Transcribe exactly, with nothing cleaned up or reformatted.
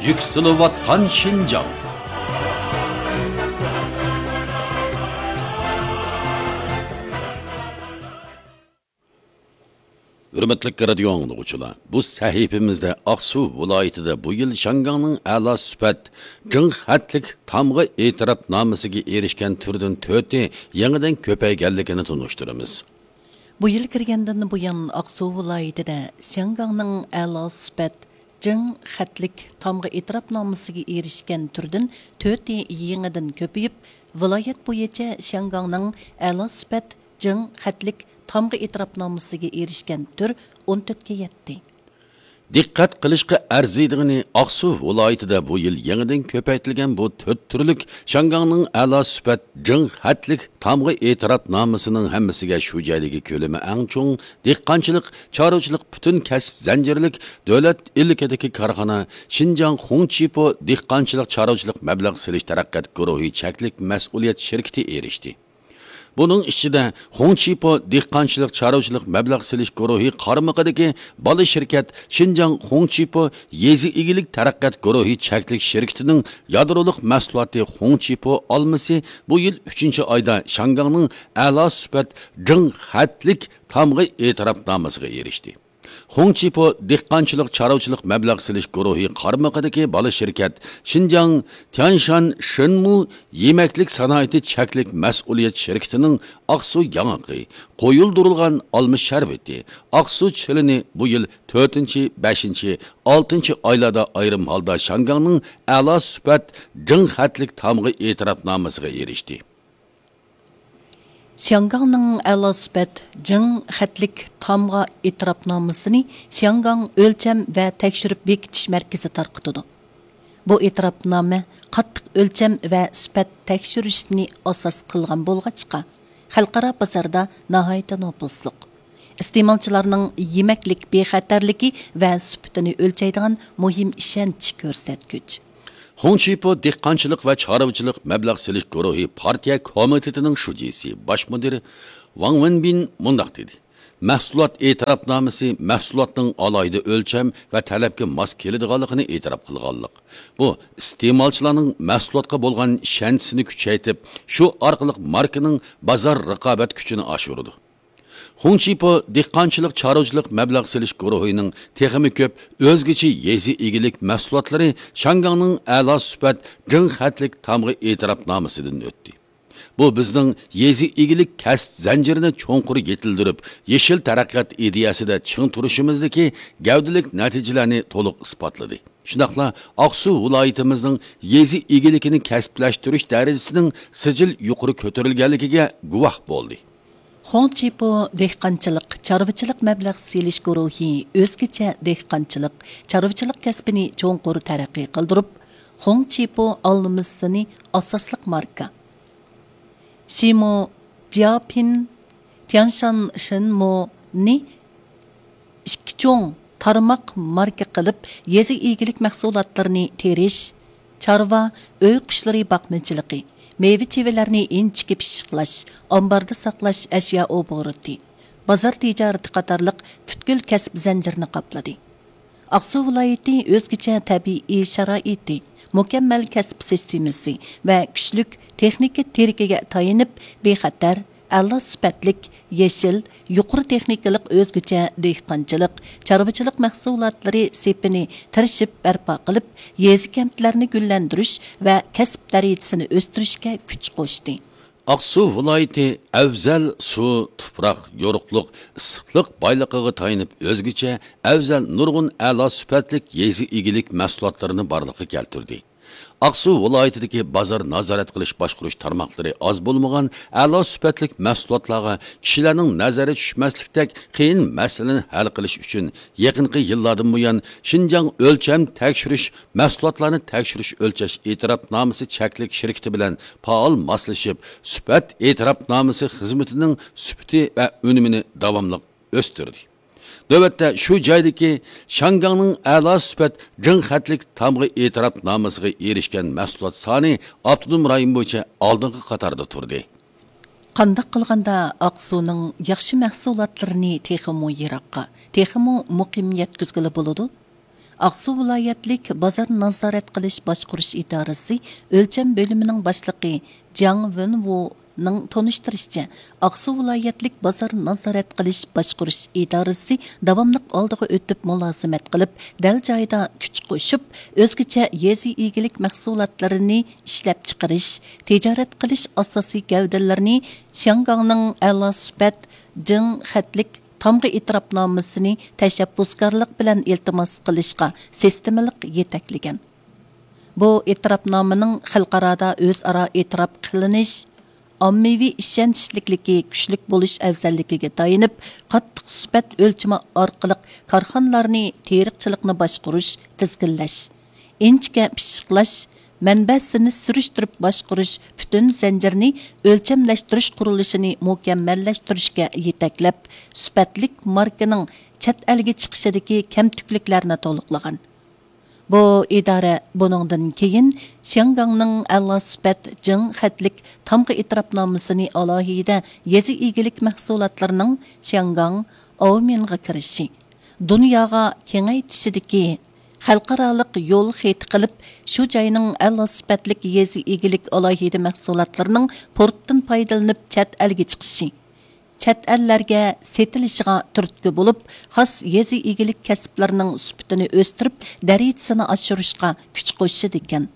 يۈكسىلىۋاتقان شىنجاڭ. ھۆرمەتلىك رادىيو ئاڭلىغۇچىلار، بۇ سەھىپىمىزدە ئاقسۇ ۋىلايىتىدە بۇ يىل شياڭگاڭنىڭ ئەلا سۈپەت جىڭ خەتلىك تامغا ئېتىراپنامىسىگە ئېرىشكەن تۈردىن تۆتى يېڭىدىن كۆپەيگەنلىكىنى تونۇشتۇرىمىز. بۇ يىل كىرگەندىن بۇيان، ئاقسۇ ۋىلايىتىدە شياڭگاڭنىڭ ئەلا سۈپەت جىڭ خەتلىك تامغا ئېتىراپنامىسىگە ئېرىشكەن تۈردىن تۆتى يېڭىدىن كۆپىيىپ، ۋىلايەت بويىچە شياڭگاڭنىڭ ئەلا سۈپەت جىڭ خەتلىك تامغا ئېتىراپنامىسىگە ئېرىشكەن تۈر ئون تۆتكە يەتتى. دىققەت قىلىشقا ئەرزىيدىغىنى، ئاقسۇ ۋىلايىتىدە بۇ يىل يېڭىدىن كۆپەيتىلگەن بۇ تۆت تۈرلۈك شياڭگاڭنىڭ ئەلا سۈپەت جىڭ خەتلىك تامغا ئېتىراپنامىسىنىڭ ھەممىسىگە شۇ جايدىكى كۆلىمى ئەڭ چوڭ دېھقانچىلىق، چارۋىچىلىق پۈتۈن كەسىپ زەنجىرلىك دۆلەت ئىلكىدىكى كارخانا شىنجاڭ خۇڭچىپو دېھقانچىلىق چارۋىچىلىق مەبلەغ سېلىش تەرەققىيات گۇرۇھى چەكلىك مەسئۇلىيەت شىركىتى ئېرىشتى. بۇنىڭ ئىچىدە خۇڭچىپو دېھقانچىلىق چارۋىچىلىق مەبلەغ سېلىش گۇرۇھى قارمىقىدىكى بالا شىركەت شىنجاڭ خۇڭچىپو يېزا ئىگىلىك تەرەققىيات گۇرۇھى چەكلىك شىركىتىنىڭ يادرولۇق مەھسۇلاتى خۇڭچىپو ئالمىسى بۇ يىل ئۈچىنچى ئايدا شياڭگاڭنىڭ ئەلا سۈپەت جىڭ خەتلىك تامغا ئېتىراپنامىسىغا ئېرىشتى. خۇڭچىپو دېھقانچىلىق چارۋىچىلىق مەبلەغ سېلىش گۇرۇھى قارمىقىدىكى بالا شىركەت شىنجاڭ تيانشان شىنمۇ يېمەكلىك سانائىتى چەكلىك مەسئۇلىيەت شىركىتىنىڭ ئاقسۇ ياڭىقى، قويۇلدۇرۇلغان ئالما شەربىتى، ئاقسۇ چىلىنى بۇ يىل تۆتىنچى، بەشىنچى، ئالتىنچى ئايلاردا ئايرىم ھالدا شياڭگاڭنىڭ ئەلا سۈپەت جىڭ خەتلىك تامغا ئېتىراپنامىسىغا ئېرىشتى. شياڭگاڭنىڭ ئەلا سۈپەت جىڭ خەتلىك تامغا ئېتىراپنامىسىنى شياڭگاڭ ئۆلچەم ۋە تەكشۈرۈپ بېكىتىش مەركىزى تارقىتىدۇ. بۇ ئېتىراپنامە قاتتىق ئۆلچەم ۋە سۈپەت تەكشۈرۈشنى ئاساس قىلغان بولغاچقا، خەلقئارا بازاردا ناھايىتى نوپۇزلۇق. ئىستېمالچىلارنىڭ يېمەكلىك بىخەتەرلىكى ۋە سۈپىتىنى ئۆلچەيدىغان مۇھىم ئىشەنچ كۆرسەتكۈچ. خۇڭچىپو دېھقانچىلىق ۋە چارۋىچىلىق مەبلەغ سېلىش گۇرۇھى پارتىيە كومىتېتىنىڭ شۇجىسى، باش مۇدىرى ۋاڭ ۋېنبىن مۇنداق دېدى: مەھسۇلات ئېتىراپنامىسى مەھسۇلاتنىڭ ئالاھىدە ئۆلچەم ۋە تەلەپكە ماس كېلىدىغانلىقىنى ئېتىراپ قىلغانلىق. بۇ ئىستېمالچىلارنىڭ مەھسۇلاتقا بولغان ئىشەنچىسىنى كۈچەيتىپ، شۇ ئارقىلىق ماركىنىڭ بازار رىقابەت كۈچىنى ئاشۇرىدۇ. خۇڭچىپو دېھقانچىلىق چارۋىچىلىق مەبلەغ سېلىش گۇرۇھىنىڭ تېخىمۇ كۆپ ئۆزگىچە يېزا ئىگىلىك مەھسۇلاتلىرى شياڭگاڭنىڭ ئەلا سۈپەت جىڭ خەتلىك تامغا ئېتىراپنامىسىدىن ئۆتتى. بۇ بىزنىڭ يېزا ئىگىلىك كەسىپ زەنجىرىنى چوڭقۇر يېتىلدۈرۈپ، يېشىل تەرەققىيات ئىدىيەسىدە چىڭ تۇرۇشىمىزدىكى گەۋدىلىك نەتىجىلەرنى تولۇق ئىسپاتلىدى. شۇنداقلا ئاقسۇ ۋىلايىتىمىزنىڭ يېزا ئىگىلىكىنى كەسىپلەشتۈرۈش دەرىجىسىنىڭ سىجىل يۇقىرى كۆتۈرۈلگەنلىكىگە گۇۋاھ بولدى. خۇڭچىپو دېھقانچىلىق، چارۋىچىلىق مەبلەغ سېلىش گۇرۇھى ئۆزگىچە دېھقانچىلىق، چارۋىچىلىق كەسپىنى چوڭقۇر تەرەققىي قىلدۇرۇپ، خۇڭچىپو ئالمىسىنى ئاساسلىق ماركا، شىمۇ، جياپىن، تيانشان شىنمۇنى ئىككى چوڭ تارماق ماركا قىلىپ، يېزا ئىگىلىك مەھسۇلاتلىرىنى تېرىش، چارۋا، ئۆي قۇشلىرى باقمىچىلىقى، مېۋە-چېۋىلەرنى ئىنچىكە پىششىقلاش، ئامباردا ساقلاش ئەشيا ئوبوروتى، بازار تىجارىتى قاتارلىق پۈتكۈل كەسىپ زەنجىرىنى قاپلىدى. ئاقسۇ ۋىلايىتى ئۆزگىچە تەبىئىي شارائىتى، مۇكەممەل كەسىپ سىستېمىسى ۋە كۈچلۈك تېخنىكا تىرىكىگە تايىنىپ، بىخەتەر، ئەلا سۈپەتلىك، يېشىل، يۇقىرى تېخنىكىلىق ئۆزگىچە دېھقانچىلىق، چارۋىچىلىق مەھسۇلاتلىرى سېپىنى تىرىشىپ بەرپا قىلىپ، يېزا-كەنتلەرنى گۈللەندۈرۈش ۋە كەسىپ دەرىجىسىنى ئۆستۈرۈشكە كۈچ قوشتى. ئاقسۇ ۋىلايىتى ئەۋزەل سۇ، تۇپراق، يورۇقلۇق، ئىسسىقلىق بايلىقىغا تايىنىپ، ئۆزگىچە ئەۋزەل نۇرغۇن ئەلا سۈپەتلىك يېزا ئىگىلىك مەھسۇلاتلىرىنى بارلىققا كەلتۈردى. ئاقسۇ ۋىلايىتىدىكى بازار نازارەت قىلىش باشقۇرۇش تارماقلىرى ئاز بولمىغان ئەلا سۈپەتلىك مەھسۇلاتلارغا كىشىلەرنىڭ نەزىرى چۈشمەسلىكتەك قىيىن مەسىلىنى ھەل قىلىش ئۈچۈن، يېقىنقى يىللاردىن بۇيان شىنجاڭ ئۆلچەم تەكشۈرۈش مەھسۇلاتلارنى تەكشۈرۈش ئۆلچەش ئېتىراپنامىسى چەكلىك شىركىتى بىلەن پائال ماسلىشىپ، سۈپەت ئېتىراپنامىسى خىزمىتىنىڭ سۈپىتى ۋە ئۈنۈمىنى داۋاملىق ئۆستۈردى. نۆۋەتتە شۇ جايدىكى شياڭگاڭنىڭ ئەلا سۈپەت جىڭ خەتلىك تامغا ئېتىراپنامىسىغا ئېرىشكەن مەھسۇلات سانى ئاپتونوم رايون بويىچە ئالدىنقى قاتاردا تۇردى. قانداق قىلغاندا ئاقسۇنىڭ ياخشى مەھسۇلاتلىرىنى تېخىمۇ يىراققا، تېخىمۇ مۇقىم يەتكۈزگىلى بولىدۇ؟ ئاقسۇ ۋىلايەتلىك بازار نازارەت قىلىش باشقۇرۇش ئىدارىسى ئۆلچەم بۆلۈمىنىڭ باشلىقى جاڭ ۋېنۋۇنىڭ تونۇشتۇرۇشىچە، ئاقسۇ ۋىلايەتلىك بازار نازارەت قىلىش باشقۇرۇش ئىدارىسى داۋاملىق ئالدىغا ئۆتۈپ مۇلازىمەت قىلىپ، دەل جايىدا كۈچ قوشۇپ، ئۆزگىچە يېزا ئىگىلىك مەھسۇلاتلىرىنى ئىشلەپچىقىرىش، تىجارەت قىلىش ئاساسىي گەۋدىلىرىنى شياڭگاڭنىڭ ئەلا سۈپەت جىڭ خەتلىك تامغا ئېتىراپنامىسىنى تەشەببۇسكارلىق بىلەن ئىلتىماس قىلىشقا سىستېمىلىق يېتەكلىگەن. بۇ ئېتىراپنامىنىڭ خەلقئارادا ئۆزئارا ئېتىراپ قىلىنىش، ئاممىۋى ئىشەنچلىكلىكى كۈچلۈك بولۇش ئەۋزەللىكىگە تايىنىپ، قاتتىق سۈپەت ئۆلچىمى ئارقىلىق كارخانىلارنى تېرىقچىلىقنى باشقۇرۇش، تىزگىنلەش، ئىنچىكە پىششىقلاش، مەنبەسىنى سۈرۈشتۈرۈپ باشقۇرۇش پۈتۈن زەنجىرىنى ئۆلچەملەشتۈرۈش قۇرۇلۇشىنى مۇكەممەللەشتۈرۈشكە يېتەكلەپ، سۈپەتلىك ماركىنىڭ چەت ئەلگە چىقىشىدىكى كەمتۈكلۈكلەرنى تولۇقلىغان. بۇ ئىدارە بۇنىڭدىن كېيىن شياڭگاڭنىڭ ئەلا سۈپەت جىڭ خەتلىك تامغا ئېتىراپنامىسىنى ئالاھىدە يېزا ئىگىلىك مەھسۇلاتلىرىنىڭ شياڭگاڭ، ئاۋمېنغا كىرىشى، دۇنياغا كېڭەيتىشىدىكى خەلقئارالىق يول خېتى قىلىپ، شۇ جاينىڭ ئەلا سۈپەتلىك يېزا ئىگىلىك ئالاھىدە مەھسۇلاتلىرىنىڭ پورتتىن پايدىلىنىپ چەت ئەلگە چىقىشى، چەت ئەللەرگە سېتىلىشىغا تۈرتكە بولۇپ، خاس يېزا ئىگىلىك كەسىپلىرىنىڭ سۈپىتىنى ئۆستۈرۈپ، دەرىجىسىنى ئاشۇرۇشقا كۈچ قوشىدىكەن.